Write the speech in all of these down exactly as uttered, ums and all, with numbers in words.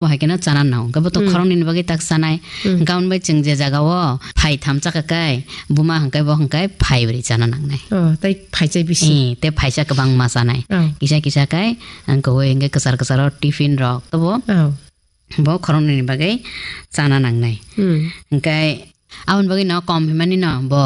Bo hai kheno chana nang. Hwnkhe bo to Hmm. khoroknwi ni bagwi tak chanai. Hmm. Hwnkhe aboni bai chwng je jaga o phai tham chakha kai, buma hwnkhe bo hwnkhe phai bwrwi chana nangnai. Oh, tai phai chai bisi. Eh, te phaisa kwbangma chanai. Oh. Kisa kisa kai, ang kwbwi hwnkhe kwchar kwchar o tiffin rok. To bo, Oh. bo khoroknwi ni bagwi chana nangnai. Hmm. Hwnkhe aboni bagwi no kom himani no bo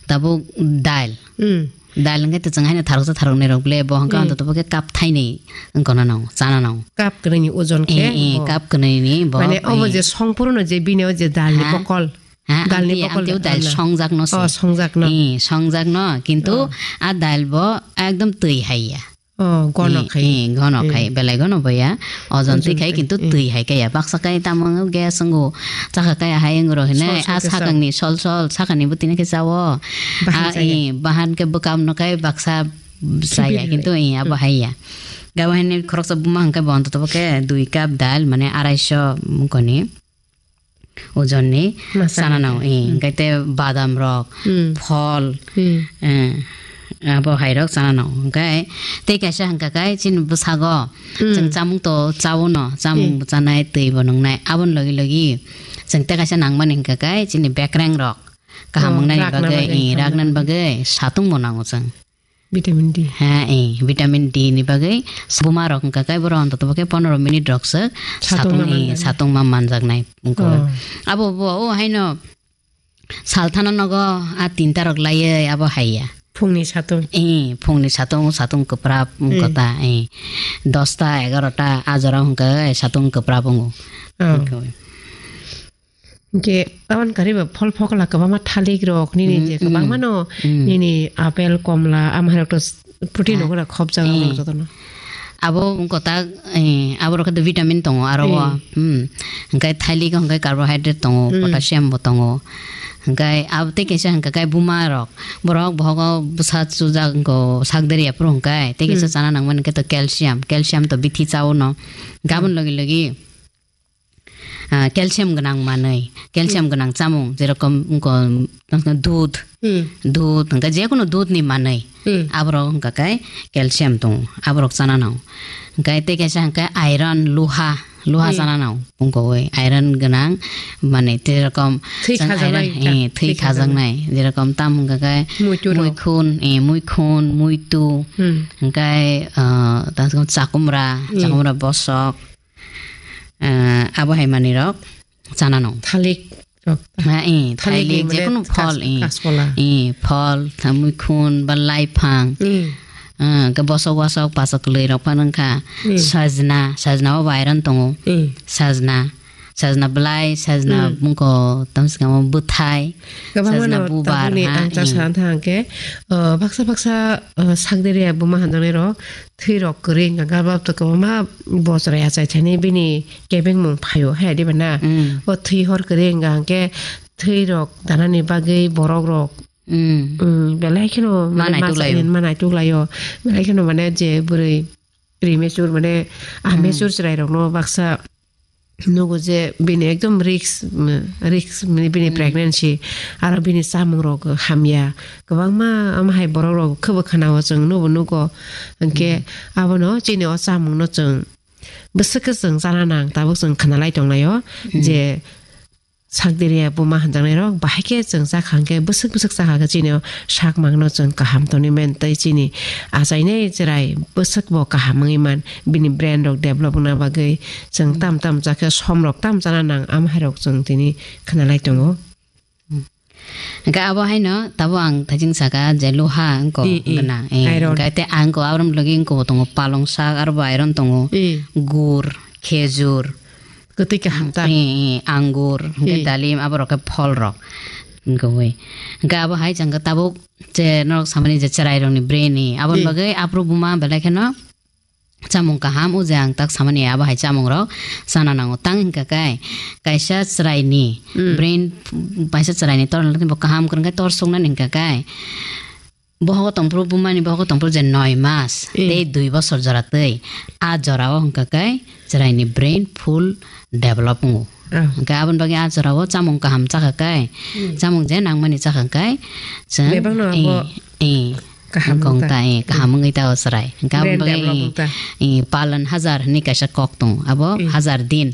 tabuk dal. Hmm. Dal hwnkhe to chwng haino tharoksa tharoknwi rok le bo hwnkhe Hmm. ontoto bo khe cup thainwi wngkona no, chana no. Cup kwrwini ojon khe Eh, eh, bo. Cup kwrwini bo, Mane obo eh. je songphuru no je bini o je dal ni Ha? bokol. Ha, Dal ni amtwi, bokol amtwi o dal dal na. songjak no se. Oh, songjak no. Eh, songjak no, kintu Oh. a dal bo ekdom twi hai ya. Oh, gono Eh, khai. eh, gono Eh. khai, belai gono bo ya. Ojon twi Ojon khai khai, kintu eh. twi hai kaya. Baksa kai tamo gas wngo, chakha kaya hai wngo ro hinai, Sol sol a khe sa. sakang ni sol sol, sakang ni bwtwi no khe chawo. Bahan Ah, chaya. eh, bahan khe bwkam no khai baksa chaya, Sibir. kintu eh, abo Hmm. hai ya. Gabo hai ni khoroksa buma hwnkhe bo ontoto bo khe dui cup dal, mane arai so wngkoni. Ojon ni Masa chana ni. nang, eh, Hmm. hwnkhe te badam rok, Hmm. phol, Hmm. eh, abo hai rok chana nang. Hwnkhe tei kaisa hwnkha khe chini bwsago Hmm. chwng chamung to chawo no, chamung Hmm. bo chanai, twi bo nwngnai. Aboni logi logi chwng tei kaisa nangmani hwnkha khe chini bekreng rok kaham Oh, wngnani rakna bagwi, bagwi, eh, kaham raknani wngnani. bagwi satung bo nango chwng. Vitamin D. Ha, eh, vitamin D ni bagwi buma rok hwnkha khe borok ontoto bo khe pondro minute rok se Satung satung, ma eh, manjaknai. satung ma manjaknai wngkha. Oh. Abo bo, o haino salthano nogo a tinta rok laiwi abo hai ya. Phungni satung. Eh, phungni satung, satung kwprap wngkha Hmm. ta, eh, dosta, egarota a jora hwnkha khe satung kwprap wngo. Oh. Wngkha. Hwnkhe aboni kariba phol phokla kwbangma thalik rok nini Mm, je mm, kwbangma no mm. nini apple, komla, ama hai rok to s-, protein Ah. rok khop jaga Eh. rok jotono. Abo wngkha ta, eh, abo rok khe vitamin tongo aro o. Eh. Hmm. Hwnkhe thalik hwnkhe carbohydrate tongo, Mm. potassium bo tongo. Hwnkhe abo tei kaisa hwnkha khe buma rok. Borok bohogo bwsa chujak wngkha sak deriya phuru hwnkhe tei kaisa Mm. chana nangmani hwnkhe to calcium. Calcium to bithi chawo no. Gabon Mm. logi logi ah, calcium gwnang manwi, calcium Hmm. gwnang chamung, jerokom wngkha, wngkha dudh, Hmm. dudh, hwnkhe jekunu dudh ni manwi, Hmm. aborok wngkha khe calcium tongo, aborok chana nang. Hwnkhe tei kaisa hwnkhe iron, luha, luha Hmm. chana nang, wngkha oi iron gwnang, mane jerokom Thwi chwng khajaknai iron, ta, eh, thwi thwi khajaknai. khajaknai, jerokom tam hwnkha khe Muitu rok. muikhun, eh, muikhun, muitu, Hmm. hwnkhe, ah, ta chakumra, Hmm. chakumra bosok, Ah, abo hai manwi rok chana nang. Thalik rok. Ha, eh, Thalik thalik ni mane jekunu kas-, phol, eh. kasola. Eh, phol, tha muikhun, ba laiphang. Eh. Ah, ke bosok wasok pasok kwlwi rok phano wngkha. Eh. Sajna, sajna o bo iron tongo. Eh. Sajna, sajna belai, sajna Hmm. bungko tamsukamo bwthai. Kwbangma sajna no bubar, tabukni ha, ang chak eh. sana thang khe, uh, baksa baksa, uh, sakderia buma hanjaknai rok thwi rok kwrwi wngkha khe, bab to kwbangma bosra achai thani bini kebengmung phaio, hai diba na? Mm. O thwi hor kwrwi wngkha hwnkhe thwi rok danani bagwi borok rok, Mm. mm, belai kheno mane Ma naituk masa laio. hin ma naituk laio. Belai kheno mane je bwrwi premature mane, ah, Mm. mature chwrai rokno baksa nugo je bini ekdom risk, mm, risk, mm, bini Mm. pregnancy, aro bini chamung rok hamya. Kwbangma ama hai borok rok khebo khana o chwng nubo nugo. Hwnkhe Mm. abono chini o chamung no chwng bwswk khe chwng chana nang, tabuk chwng khna lai tong lai o Mm. je sakderia buma hanjaknai rok bahai khe chwng chakha hwnkhe bwswk bwswk chakha khe chini o sak mang no chwng kaham tongwi man tei chini achainai chwrai bwswk bo kaham wngwi man. Bini brain rok develop wngna bagwi chwng tam tam chakhe som rok tam chana nang, am hai rok chwng tini khna lai tongo. Hwnkhe abo haino tabuk ang thajing saka je luha wngkha Mm, mm. gwnang, eh, Iron. hwnkhe tei ang khe abo rok logi wngkha bo tongo palong sak aro bo iron tongo, Mm. gur, khejur, Kwtwi kaham ta. eh, eh, angur, hwnkhe Mm. dalim abo rok khe phol rok wngkha wi. Hwnkhe abo hai chwng khe tabuk je norok samani je chwrai rokni brain ni aboni Mm. bagwi aphuru buma belai kheno chamung kaham, o je ang tak samani abo hai chamung rok chana nango. Tang hwnkha khe kaisa chwrai ni Mm. brain, kaisa chwrai ni torna bo kaham kwrwng khe tor suknani hwnkha khe bohogo tongphuru, bumani bohogo tongphuru je noi mas Mm. tei dui bosor jora twi, a jora o hwnkha khe chwrai ni brain full develop wngo. Ah. Hwnkhe aboni bagwi a jora o chamung kaham chakha khe, Mm. chamung je nangmani chakha khe, chwng, Bebakno abo eh, eh, kaham wngkha wng ta. ta, eh, kaham wngwi ta o chwrai. Hwnkhe aboni Brain bagwi, develop eh, wng ta. eh, palan hajar hinwi kaisa kok tongo. Abo Mm. hajar din.